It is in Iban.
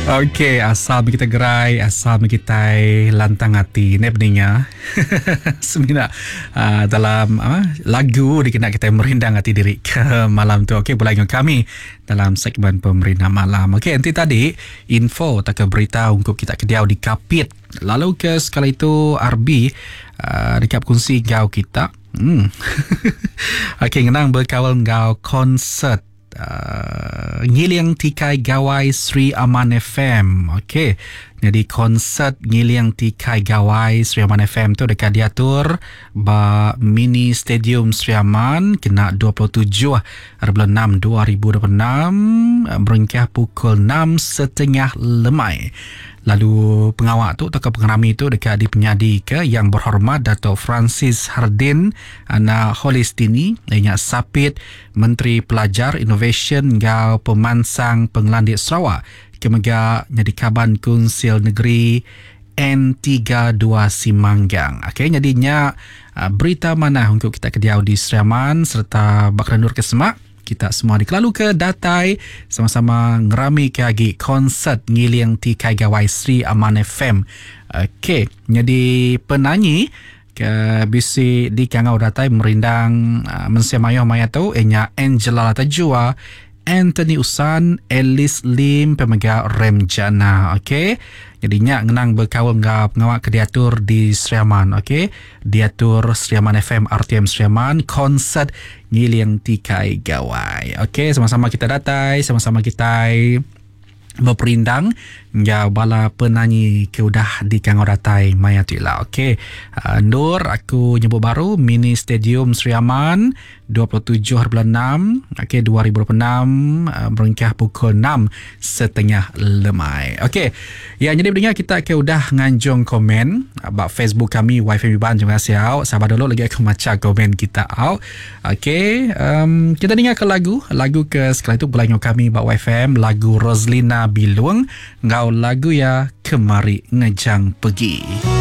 Okey, asal meh kita gerai, asal meh kitai lantang ati neh peninga. Semina uh, dalam uh, lagu dikena kitai merindang ati diri ke malam tu. Okey, pulai dengan kami dalam segmen pemerindang malam. Okey, enti tadi info atau ke berita ungkup kita ke diau di Kapit. Lalu ke sekali itu RB uh, dekat berkongsi enggau kita. Hmm. Okey, ngenang berkaul enggau konsert uh, Ngiling Tikai Gawai Sri Aman FM. Okey. Jadi konsert Ngiling Tikai Gawai Sri Aman FM tu dekat diatur ba Mini Stadium Sri Aman kena 27 6 2026 berengkah pukul 6.30 lemai. Lalu pengawa tu tauka pengerami tu deka dipenyadika Yang Berhormat Dato Francis Hardin anak Holistini iya nya Sapit Menteri Pelajar, Inovasyen enggau Pemansang Pengelandik Sarawak ke mega nyadi Kaban Kunsil Negeri N32 Simanggang. Okey nyadi nya berita manah ungkup kita ke diau di Sri Aman sereta ba kerendur ke semak. Kita semua dikelaluka datai sama-sama ngeramika agi konsert Ngiling Tikai Gawai Sri Aman FM. Okey, nyadi penanyi ke bisi dikangau datai merindang ah, mensia mayuh maya tu iya nya Angela Latajua, Anthony Usan, Alice Lim pemega Rem Jana. Okey. Jadi nya ngenang bekaul enggau pengawa ke diatur di Sri Aman. Okey. Diatur Sri Aman FM RTM Sri Aman konsert Ngiling Tikai Gawai. Okey, sama-sama kita datai, sama-sama kita beperindang enggau bala penanyi ke udah dikangau datai maya tu ila. Okey, uh, endur aku nyebut baru Mini Stadium Sri Aman 27 hari bulan 6, okey 2026 uh, berengkah pukul 6.30 lemai. Okey. Ya jadi pendengar kita ke udah nganjung komen uh, ba Facebook kami YFM Iban terima kasih au. Sabar dulu lagi aku macha komen kita au. Okey, um, kita dengar ke lagu, lagu ke sekali tu belai kami ba YFM lagu Roslina Bilung ngau lagu ya Kemari Ngejang Pegi.